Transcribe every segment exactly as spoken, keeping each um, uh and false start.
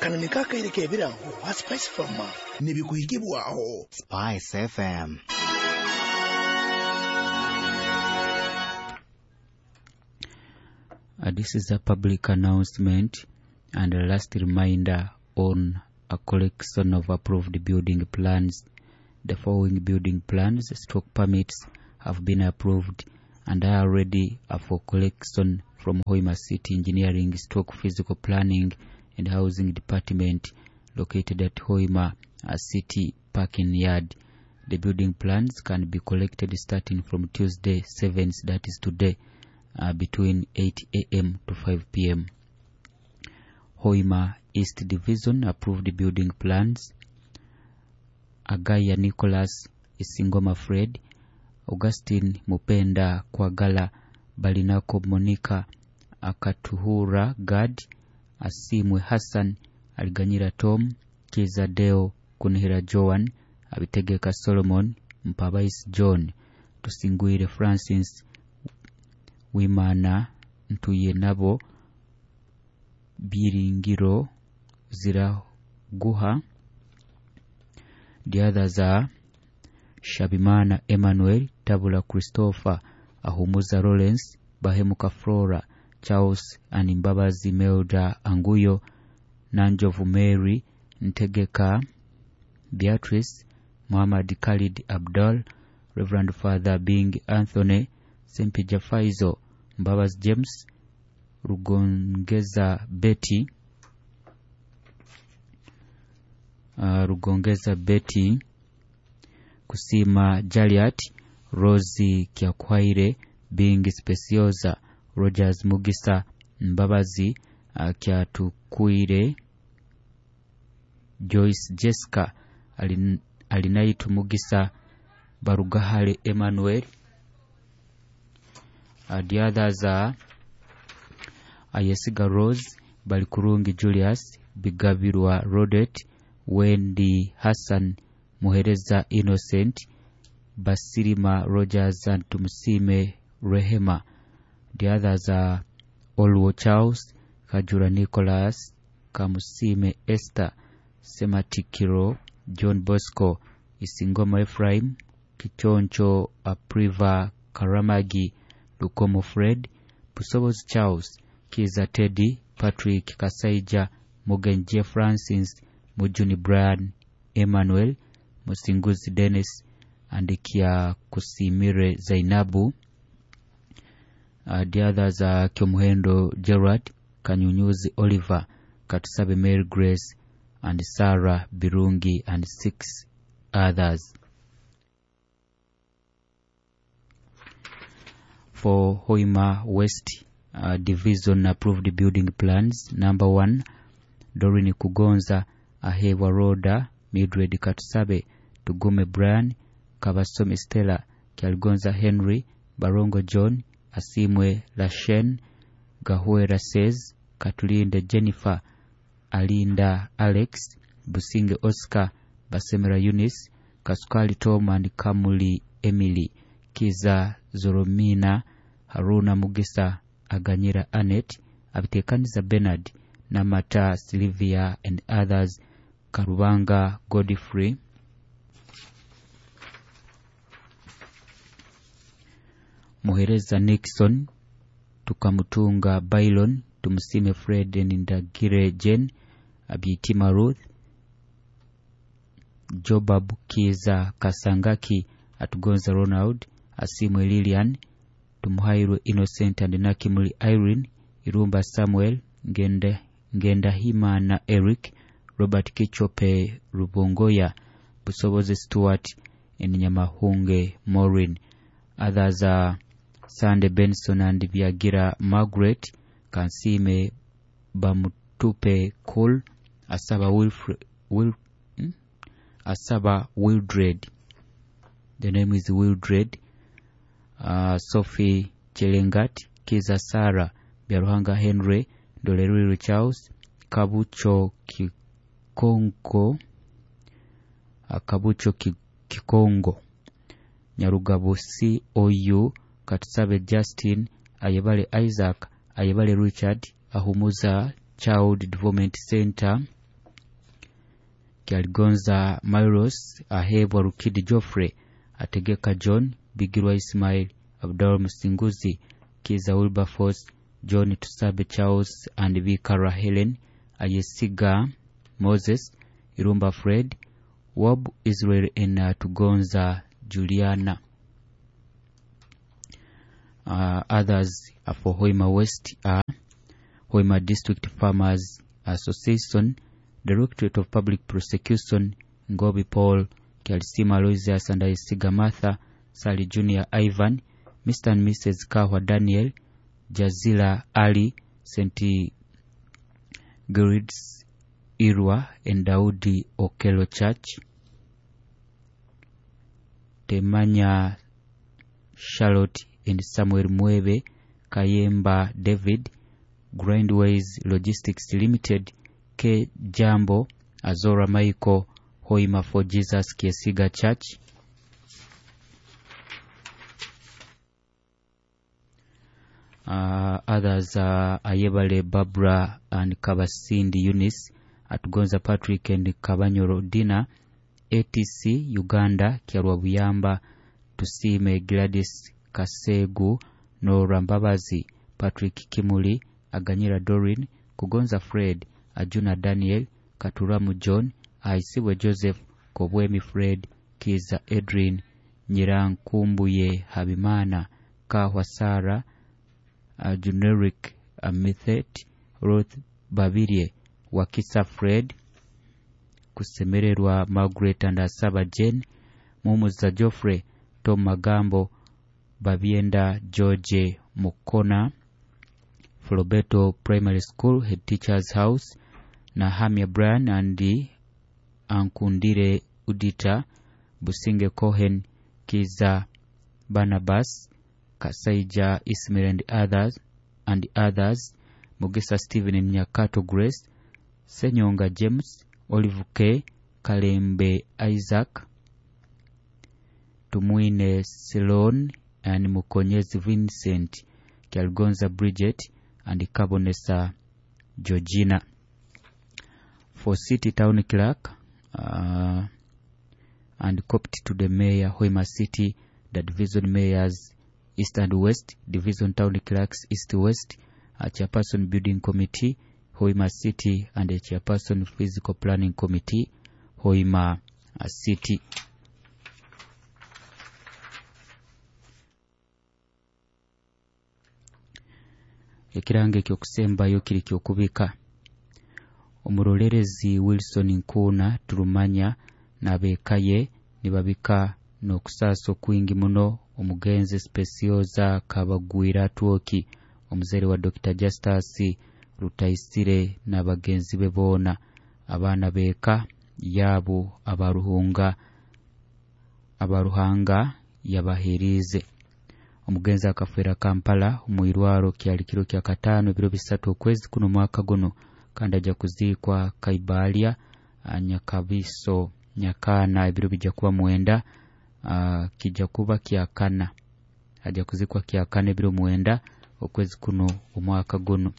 Kano niko akaire k'ebirango ha Spice Farmer nibikuhikibwaho Spice F M. Uh, this is a public announcement and a last reminder on a collection of approved building plans. The following building plans, stroke permits, have been approved and are ready for collection from Hoima City Engineering Stroke Physical Planning and Housing Department located at Hoima uh, City Parking Yard. The building plans can be collected starting from Tuesday seventh, that is today, uh, between eight a m to five p m. Hoima East Division approved building plans: Agaya Nicholas, Isingoma Fred, Augustine Mupenda Kwagala, Balinako Monica, Akatuhura Gad, Asimwe Hassan, Aliganyira Tom, Kiza Deo, Kunihira Joan, Abitegeka Solomon, Mpabais John, Tusingwire Francis, Wimana Ntuyenabo, Byiringiro Ziraguha. The others are Shabimana Emmanuel, Tabula Christopher, Ahumuza Lawrence, Bahemuka Flora, Charles and Mbabazi Melda Anguyo, Nanjovu Mary, Ntegeka Beatrice, Muhammad Khalid Abdul, Reverend Father Bing Anthony, Sempija Faizo, Mbabazi James, Rugongeza Betty, uh, Rugongeza Betty, Kusima Jaliat, Rosie Kyakwaire, Bing Speciosa, Rogers Mugisa, Mbabazi uh, Kyatukwire, Joyce Jessica, Alin, Alinaitu Mugisa, Barugahale Emmanuel. Uh, the others are Ayesiga Rose, Balikurungi Julius, Bigabirwa Rodet, Wendy Hassan, Muhereza Innocent, Basirima Rogers and Tumusime Rehema. The others are Olwo Charles, Kajura Nicholas, Kamusime Esther, Sematikiro, John Bosco, Isingoma Ephraim, Kichoncho Apriva Karamagi, Lukomo Fred, Busobozi Charles, Kiza Teddy, Patrick Kasaija, Mugenje Francis, Mujuni Brian, Emmanuel, Musinguzi Dennis, and Kia Kusimire Zainabu. Uh, the others are Kyomuhendo Gerard, Kanyunyuzi Oliver, Katusabe Mary Grace, and Sarah Birungi, and six others. For Hoima West uh, Division approved building plans, number one, Dorini Kugonza, Ahewa Roda, Mildred Katusabe, Tugume Brian, Kabasomi Stella, Kyaligonza Henry, Barongo John, Asimwe Lashen, Gahuera Says, Katulinde Jennifer, Alinda Alex, Businge Oscar, Basemera Eunice, Kasukali Tom and Kamuli Emily, Kiza Zoromina, Haruna Mugisa, Aganyira Anet, Abitekaniza Bernard, Namata Sylvia and others, Karubanga Godfrey, Muhereza Nixon, Tukamutunga Bailon, Tumusime Fred and Ndagire Jane, Abitima Ruth, Jobab Kiza Kasangaki, Atugonza Ronald, Asimwe Lilian, Tumuhairwe Innocent and Nakimuli Irene, Irumba Samuel, Ngenda, Ngendahimana Eric, Robert Kichope Rubongoya, Busobozi Stewart, and Nyamahunge Maureen. Others are Sande Benson and Biagira Margaret, Kansime Bamutupe Cole, Asaba Wilfred, Wil, hmm? Asaba Wildred. The name is Wildred. Uh, Sophie Chelengat, Kiza Sarah, Biaruhanga Henry, Doleriri Charles, Kabucho Kikongo, uh, Kabucho Kikongo, Nyarugabo C O U, Katusabe Justin, Ayebale Isaac, Ayebale Richard, Ahumuza Child Development Center, Kyaligonza Myros, Ahebwa Rukidi Geoffrey, Ategeka John, Bigirwa Ismail, Abdul Musinguzi, Kiza Wilberforce, John Tusabe Charles and Bikara Helen, Ayesiga Moses, Irumba Fred, Wob Israel and uh, Tugonza Juliana. Uh, others are for Hoima West are Hoima District Farmers Association, Directorate of Public Prosecution, Ngobi Paul, Kyalisima Aloysius and Ayesiga Martha, Sally Junior Ivan, Mister and Missus Kahwa Daniel, Jazila Ali, Saint Grids Irwa and Daudi Okello Church, Temanya Charlotte and Samuel Mwebe, Kayemba David, Grindways Logistics Limited, K Jambo, Azora Michael, Hoima for Jesus Kiesiga Church, Uh, others are Ayebale Barbara and Kabasindi Eunice, Atugonza Patrick and Kabanyoro Dina, A T C Uganda, Kyarwa Buyamba, Tusime Gladys Kasegu, Nora Mbabazi, Patrick Kimuli, Aganyira Dorin, Kugonza Fred, Ajuna Daniel, Katuramu John, Aisibwe Joseph, Kobwemi Fred, Kiza Edrin, Nyirankumbuye Habimana, Kahwa Sara, Uh, Generic uh, Mithet, Ruth Babirye, Wakisa Fred, Kusemererwa Margaret and Asaba Jane, Mumuza Geoffrey, Tom Magambo, Babienda George Mukona, Flobeto Primary School Head Teacher's House, Nahamia Brian and Ankundire Udita, Businge Cohen, Kiza Barnabas, Kasaija Ismail and others, and others, Mugisa Stephen and Nyakato Grace, Senyonga James, Olive K, Kalembe Isaac, Tumwine Selon and Mukonyezi Vincent, Kyalgonza Bridget and Kabonesa Georgina. For City Town Clerk uh, and copied to the Mayor, Hoima City, the Division Mayors East and West, Division Town Clerks East West, a Chairperson Building Committee, Hoima City, and a Chairperson Physical Planning Committee, Hoima City. Ekirango ekyokusembayo kiri kyokubika. Omurolerezi Wilson Nkuuna Turumanya n'abekaye nibabika n'okusaasa okwingi muno omugenzi Specioza Kabagwira Atwoki, omuzaire wa Dokita Justus Rutaisire n'abagenzi be boona, abaana b'eka yaabo abaruhunga abaruhanga yabaherize. Omugenzi akafera Kampala omwirwaro kyali kiro kya kataano ebiro bisatu okwezi kuno mwaka guno, kandi ajja kuziikwa Kaibalya Nyakabiso Nyakana ebiro bijja kuba mwenda, uh, kijja kuba kyakana, ajja kuzikwa kyakana ebiro mwenda okwezi kuno omwaka guno.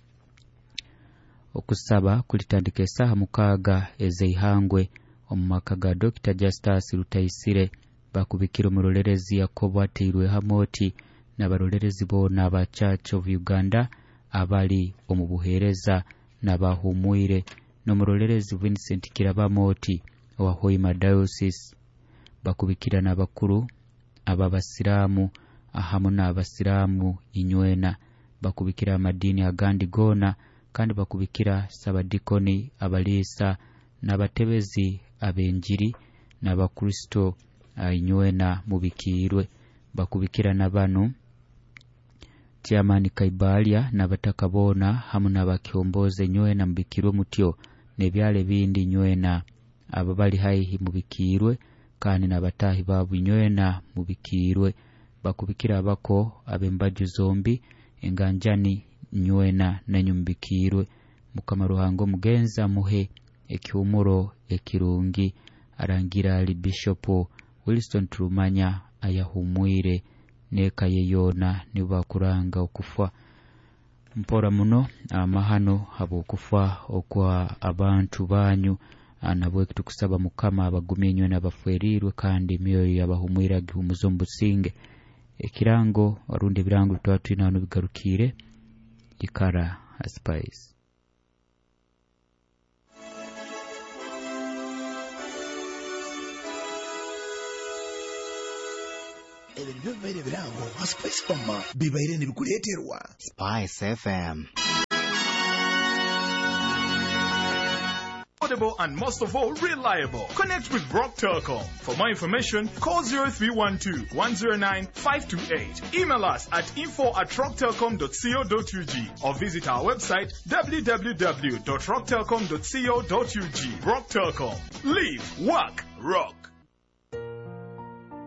Okusaba kulitandika esaaha mukaaga ez'eihangwe omu maka ga Dokita Justus Rutaisire. Bakubikira omurolerezi Yakobo ateirwe Hamoti n'abarolerezi boona aba Church of Uganda abali omu buheereza n'abahumwire, n'omurolerezi Vincent Kirabamoti owa Hoima Diocese. Bakubikira n'abakuru ab'abasiraamu ahamu n'abasiraamu inywena. Bakubikira amadiini agandi goona, kandi bakubikira sabadikoni, abaliisa n'abatebezi ab'enjiri n'abakristo inywena mubikiirwe. Bakubikira n'abanu Chairman Kaibalya n'abataka boona hamu n'abakyomboze nywena mubikirwe mutyo, n'ebyalo ebindi nywena abo bali haihi mubikiirwe, kandi n'abatahi baabo nywena mubikiirwe. Bakubikira abako ab'embaju zombi enganjani nywena nenyu mubikiirwe. Mukama Ruhanga omugenzi amuhe ekihumuro ekirungi. Arangira ali Bishop Wilson Turumanya ayahumwire n'eka ye yoona nibakuranga okufa. Mpora muno amahano habw'okufa okwa abantu banyu, Nabwe tukusaba Mukama abagumye inywe n'abafwerirwe, kandi emyoyo yabahumwire agihumuze omu businge. Ekirango orundi ebirango bitwaba twine hano bigarukire. Ikara Spice. Ebyo nibyo bibaire ebirango ha Spice Fama bibaire nibikuleeterwa Spice F M. Affordable and most of all reliable. Connect with Rock Telcom. For more information, call zero three one two, one zero nine, five two eight. Email us at info at rocktelcom dot co dot U G or visit our website w w w dot rock telcom dot co dot U G. Rock Telcom. Live, work, rock.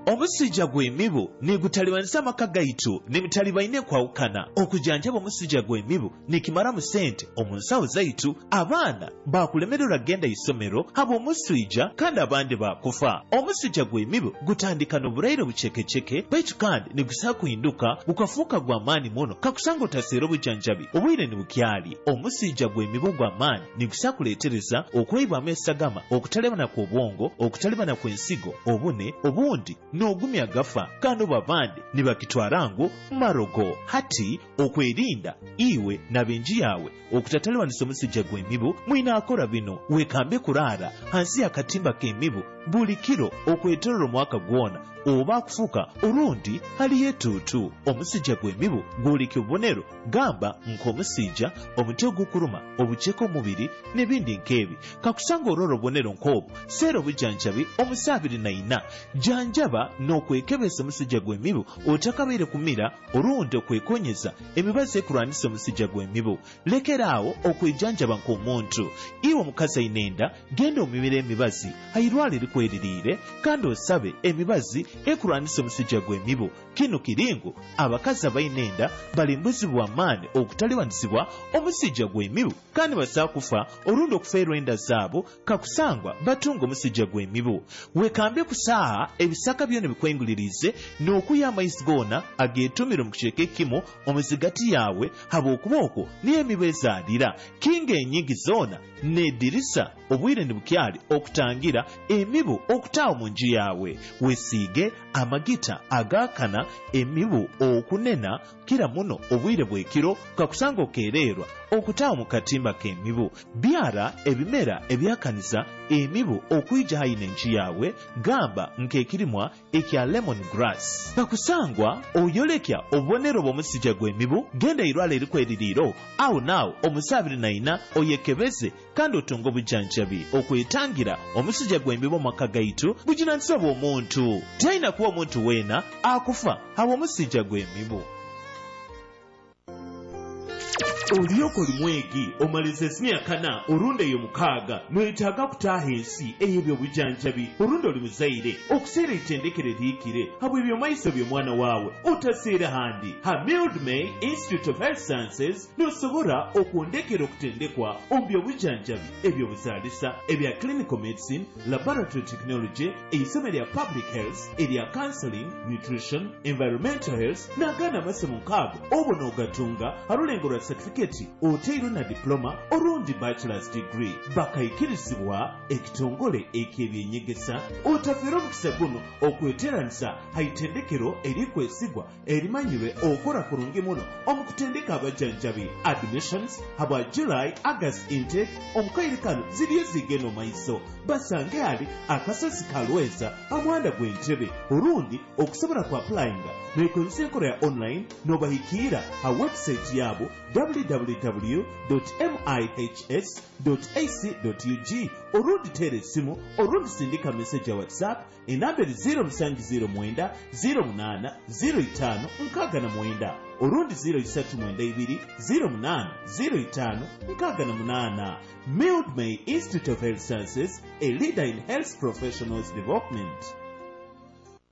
Omusujja gw'emibu nigutalibanisa amaka gaitu n'emitalibaine kwawukana. Okujanjaba omusujja gw'emibu nikimaramu sente omu nsawo zaitu. Abaana bakulemererwa kugenda isomero habw'omusujja kandi abandi bakufa. Omusujja gw'emibu gutandika n'oburaire bucekeceke, baitu kandi nigusa kuhinduka gukafuuka gw'amaani muno kakusanga otaseera obujanjabi obwire nibukyali. Omusujja gw'emibu gw'amaani nigusa kuleetereza okweibwamu esagama, okutalebana kw'obwongo, okutalebana kw'ensigo, obune, obundi n'ogumya gafa kandi babandi nibakitwara ngu marogo. Hati okwerinda iwe n'abenji yawe okutataliwanisa omusujja gw'emibu mwinaakora bino: wekambe kuraara hansi y'akatimba k'emibu buli kiro okwetorora omwaka gwona oba kufuka orundi haliyo etuutu. Omusujja gw'emibu gwoleka obubonero gamba nk'omusujja, omutwe ogukuruma, obuceke omubiri n'ebindi nk'ebi. Kakusanga orora obubonero nk'obu, seera obujanjabi omusa abiri na ina. Janjaba n'okwekebeza omusujja gw'emibu otakabaire kumira orundi okwekonyeza emibazi ekurwanisa omusujja gw'emibu. Lekeraawo okwejanjaba nk'omuntu. Iwe omukazi aine enda, genda omumire emibazi hairwala erikweririire kandi osabe emibazi ekurwanisa omusujja gw'emibu. Kino kiringu abakazi abaine enda bali mbuzi bw'amaani okutalibanisibwa omusujja gw'emibu kandi basaa kufa orundi okufeerwa enda zaabo kakusangwa batunga omusujja gw'emibu. Wekambe kusaaha ebisaka byona bikwengulirize n'okuya amaizi goona ageetumire mu kicweka ekimu omuzigati yawe habw'okuba okwo niyo emibu ezaalira. Kinga enyingi zoona n'edirisa obwire nibukyali okutangira emibu okutaawa mu nju yawe. Wesiige amagita agaakana emibu okunena kira muno obwire bw'ekiro kakusanga okeererwa okutaawa mu katimba k'emibu. Byara ebimera ebyakaniza emibu okwija hayi n'enju yawe, gamba nk'ekirimwa ekya lemon grass. Kakusangwa oyolekya obubonero bw'omusujja gw'emibu, genda irwala erikweririiro awo naawo omusa abiri na ina oyekebeze kandi otunge obujanjabi. Okwetangira omusujja gw'emibu omwaka gaitu bujunanizibwa bw'omuntu. Talina kuba omuntu weena akufa habw'omusujja gw'emibu. Olyoka oli mwegi omaliza emyaka kana orundi eyo mukaaga noyetaaga kutaaha ensi ey'ebyobujanjabi orundi oli muzaire okuseera eitendekero erihikire habw'ebyomaiso by'omwana waawe otaseera handi. Ha Mildmay Institute of Health Sciences nosobora okwondekera okutendekwa omu byobujanjabi ebyobuzaalisa, ebya clinical medicine, laboratory technology, eisomo erya public health, erya counseling, nutrition, environmental health n'agandi amasomo nkaago obwo n'ogatunga harulengo rwa certificate oteirwe na diploma orundi bachelor's degree. Bakaikirizibwa ekitongole eky'ebyenyegesa. Otafeera omukisa guno okweteranisa haitendekero erikwesigwa erimanyirwe okora kurungi muno omu kutendeka abajanjabi. Admissions habwa July August intake omukaire kano ziriyo zigenda omaiso. Basange ali akasozi kalweza amuhanda gw'entebe orundi okusobola ku applyinga nekozesa enkola ya online n'obahikiira ha website yabo w w w dot m i h s dot a c dot u g orundi teera essimu orundi sindika message ya WhatsApp enamba eri zero musanju zero mwenda zero munaana zero itaano nkaaga na mwenda orundi zero isatu mwenda ibiri zero munaana zero itaano nkaaga na munaana. Mildmay Institute of Health Sciences, a leader in health professionals development.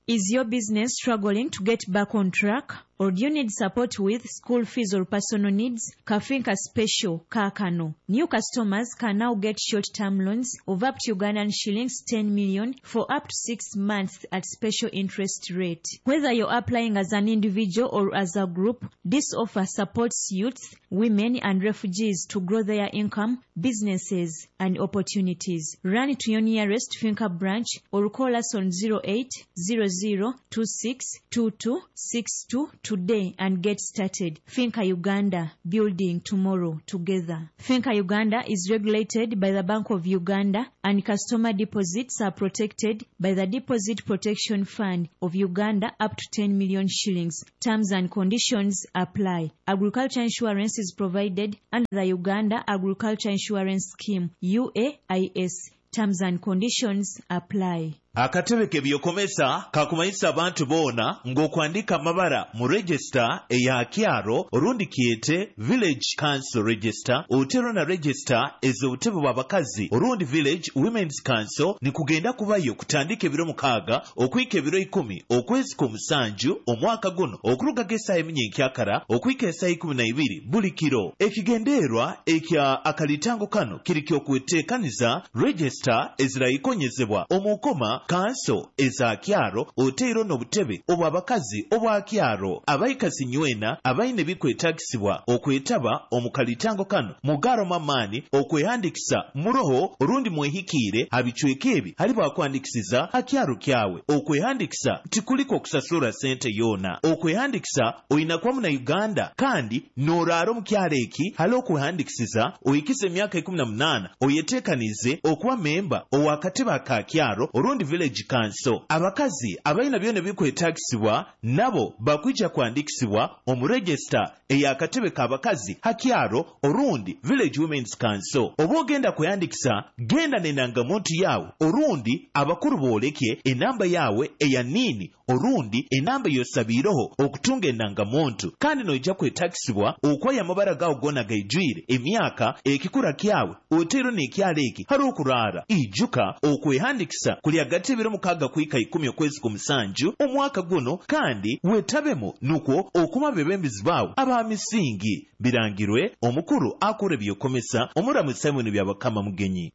Is your business struggling to get back on track? Or do you need support with school fees or personal needs? Kafinka Special Kakano. New customers can now get short-term loans of up to Ugandan shillings ten million for up to six months at special interest rate. Whether you're applying as an individual or as a group, this offer supports youths, women and refugees to grow their income, businesses and opportunities. Run to your nearest Finca branch or call us on zero eight zero zero two six two two six two today and get started. Finca Uganda, building tomorrow together. Finca Uganda is regulated by the Bank of Uganda and customer deposits are protected by the Deposit Protection Fund of Uganda up to ten million shillings. Terms and conditions apply. Agriculture insurance is provided under the Uganda Agriculture Insurance Scheme, U A I S. Terms and conditions apply. Akatebe k'ebyokomesa kakumanyisa abantu boona ng'okwandika amabara mu register eya kyaro orundi kyete Village Council Register otero na register ez'obutebe bw'abakazi orundi Village Women's Council nikugenda kubayo kutandika ebiro mukaaga okwika ebiro ikumi okwezi kw'omusanju omwaka guno okuruga g'essaaha eminyenkyakara okwika essaaha ikumi na ibiri buli kiro. Ekigendererwa ekya akalitango kano kiri ky'okweteekaniza register ezirayikonyezebwa omukoma kanso eza kyaro oteiro n'obutebe obw'abakazi obwa kyaro abaikasi nywena abaine bikwetagisibwa okwetaba omu kalitango kano mugaro mamaani okwehandikisa muroho orundi mwehikiire abicweka ebi hali bwakwandikisiza akyaro kyawe. Okwehandikisa tikuliko okusasura sente yona. Okwehandikisa oyina kuba muna Uganda kandi n'oraara omu kyaro eki hali okwehandikisiza oyikize emyaka ikumi na munaana oyeteekanize okuba memba ow'akatebe aka kyaro orundi Village Council. Abakazi abalina byona bikwetagisibwa nabo bakwija kwandikisibwa omu register ey'akatebe k'abakazi hakyaro orundi Village Women's Council. Oba ogenda kweyandikisa genda n'endangamuntu yawe orundi abakuru booleke enamba yawe eya nini orundi enamba yosabiireho okutunga endangamuntu kandi noija kwetagisibwa okwaya amabara gawe gona gaijwire emyaka ekikura kyawe oteero n'ekyalo eki hari okuraara. Ijuka okwehandikisa kuli hagati ebiro mukaaga kuhika ikumi okwezi kw'omusanju omwaka guno kandi wetabemu nukwo okuma bebembizi baawe aba misingi. Birangirwe omukuru akora ebyokomesa omuramu Simon Byabakama Mugenyi.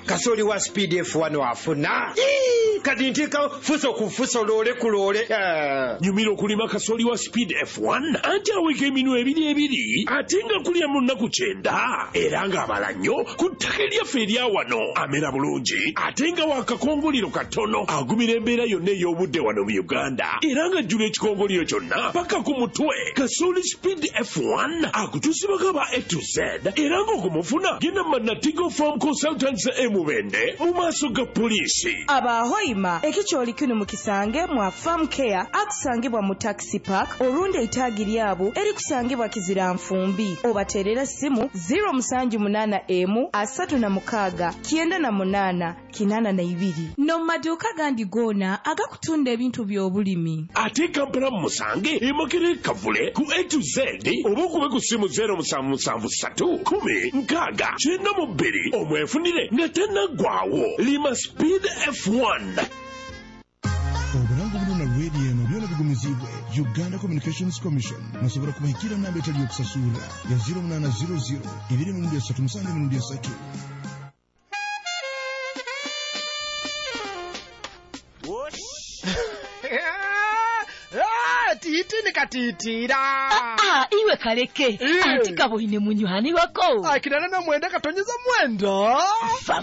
Kasoli wa Speed F one wafuna kati nteeka fuso ku fuso loole ku loole. Nyumira okulima kasoli wa Speed F one anti aweka eminwe ebiri ebiri ate nga kulya mu nnaku kyenda era ng'abala nnyo ku ttaka eryaffe erya wano. Amera bulungi ate nga wakakongoliro katono agumira embeera yonna ey'obudde wano mu Uganda era ng'ajjula ekikongoliro kyonna paka ku mutwe. Kasoli Speed F one akutuusibwako aba A to Z era ng'okumufuna genda mu Natigo Farm Consultants e Mubende mu maaso ga poliisi. Abahoima ekikyoli kino mukisange mwa Farm Care akusangibwa mu Taxi Park orundi eitaagi lyabo erikusangibwa Kizira Nfumbi. Obaterera simu zero musanju munana emu asatu na mukaaga kyenda na munana kinana na ibiri. No maduuka gandi gona agakutunda ebintu by'obulimi. Ate Kampala musange e Makerere Kavule ku A to Z oba okube ku simu zero musanvu musanvu ssatu kumi nkaaga kyenda mu bbiri omwefunire nga tannaggwawo. Lima Speed F one. Obulango buno na radio eno byona bigumizibwe Uganda Communications Commission. Musobola kubahikira namba etali yokusasula ya zero munana zero zero ibiri emirundi esatu musanvu emirundi esatu. Titi nikatitira. Ah, iwe kaleke. Anti kaboine munywani wako. Akirana na mwenda katonyeza mwenda. Fa